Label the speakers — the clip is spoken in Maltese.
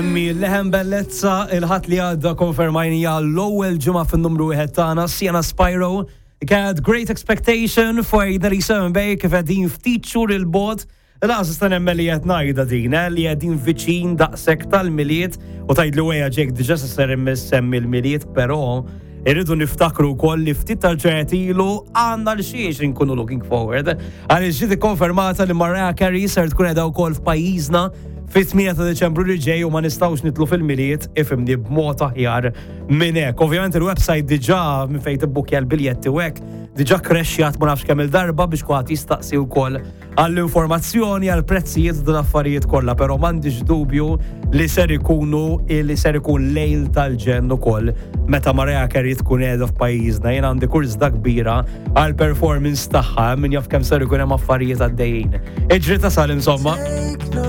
Speaker 1: Semmi leħen bellezza il-Ħadd li għadda konfermajnija l-ewwel ġimgħa fin-numru wieħed tagħna Sienna Spyro. Kienet Great Expectation for 97 Bay kif qegħdin ftit xhur il-bogħod. Laqas nista' nemmen li qed ngħidha din, eh, li qegħdin viċin daqshekk tal-Milied u tgħidli wejja Jake diġà se ser semmi l-Milied, però irridu niftakru wkoll li ftit tal-ġranet ilu għandna l xiex inkunu looking forward. Għaliex ġiet ikkonfermata li Mariah Carey ser tkun qiegħda wkoll f'pajjiżna fit-8 ta' Deċembru li ġej u ma nistgħux nitlu fil-Milied ifimni b'mod aħjar minn hekk. Ovvjament il-website diġà minn fejn tibbukja l-biljetti u hekk diġà krexxjat ma nafx kemm il-darba biex kulħadd jistaqsi wkoll għall-informazzjoni, għall-prezzijiet u l-affarijiet kollha, però m'għandix dubju li ser ikunu li ser ikun lejl tal-ġenn ukoll meta Mariah Carey tkun qiegħda f'pajjiżna. Jien għandi kurżità kbira għall performance tagħha min jaf kemm ser ikun hemm affarijiet għaddejjin. Iġri tasal insomma.